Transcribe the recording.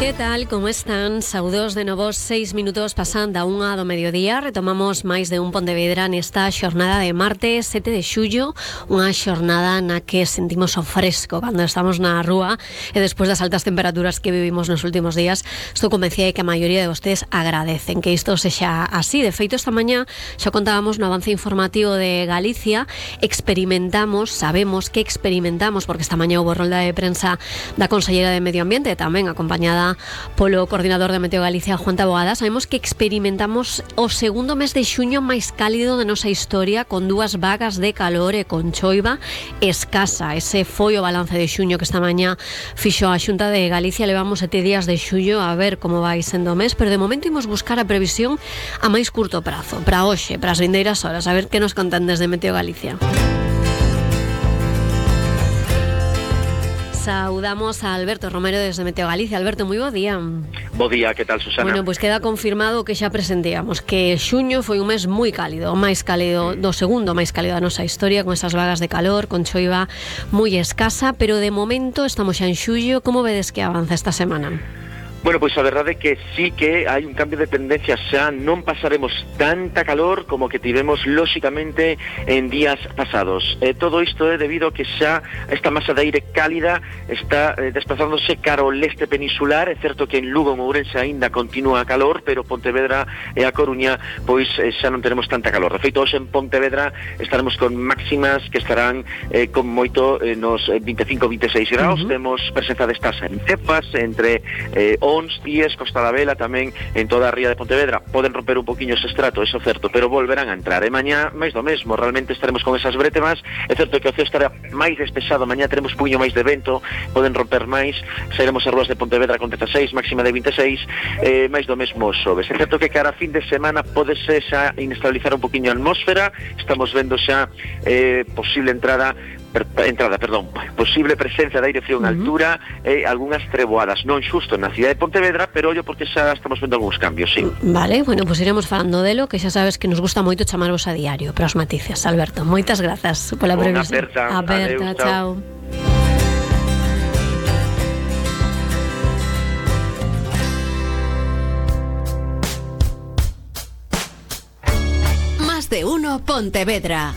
Que tal, como están? Saúdos de novo, 6 minutos pasando a 1 do mediodía. Retomamos máis de un Pontevedra nesta xornada de martes 7 de xullo. Unha xornada na que sentimos o fresco cando estamos na rúa e despois das altas temperaturas que vivimos nos últimos días. Estou convencida de que a maioría de vostedes agradecen que isto sexa así. De feito, esta mañá xa contábamos no avance informativo de Galicia. Sabemos que experimentamos, porque esta mañá houve rolda de prensa da Consellera de Medio Ambiente, tamén acompañada polo coordinador de Meteo Galicia, Juan Taboada. Sabemos que experimentamos o segundo mes de xuño máis cálido de nosa historia, con 2 vagas de calor e con choiva escasa. Ese foi o balance de xuño que esta mañá fixo a Xunta de Galicia. Levamos 7 días de xullo, a ver como vai sendo o mes, pero de momento imos buscar a previsión a máis curto prazo, para hoxe, para as vindeiras horas, a ver que nos contan desde Meteo Galicia. Saudamos a Alberto Romero desde Meteo Galicia. Alberto, moi bo día. Bo día, que tal, Susana? Bueno, pois queda confirmado que xa presentíamos que xuño foi un mes moi cálido, o máis cálido do segundo máis cálido da nosa historia, con esas vagas de calor, con choiva moi escasa, pero de momento estamos xa en xullo. Como vedes que avanza esta semana? Bueno, pois a verdade é que sí que hai un cambio de tendencia, xa non pasaremos tanta calor como que tivemos lóxicamente en días pasados. Todo isto é debido a que xa esta masa de aire cálida está desplazándose cara ao leste peninsular. É certo que en Lugo e Ourense aínda continúa calor, pero Pontevedra e a Coruña pois xa non tenemos tanta calor. De feito, hoxe en Pontevedra estaremos con máximas que estarán con moito nos 25-26 graus. Temos presenza destas en cepas entre Ons, Díez, Costa da Vela, tamén en toda a ría de Pontevedra. Poden romper un poquinho ese estrato, eso é certo, pero volverán a entrar. E mañá máis do mesmo, realmente estaremos con esas brétemas. É certo que o ceo estará máis despexado, mañá teremos puño máis de vento, poden romper máis. Sairemos as rúas de Pontevedra con 16, máxima de 26, máis do mesmo xoves. É certo que cara a fin de semana podese xa inestabilizar un poquinho a atmósfera. Estamos vendo xa posible posible presencia de aire frío en altura e algunhas treboadas, non xusto na cidade de Pontevedra, pero ollo porque xa estamos vendo algúns cambios, sí. Vale, bueno, pues iremos falando delo, que xa sabes que nos gusta moito chamarvos a diario para os matices. Alberto, moitas grazas pola previsión. Aperta, chao. Más de uno Pontevedra.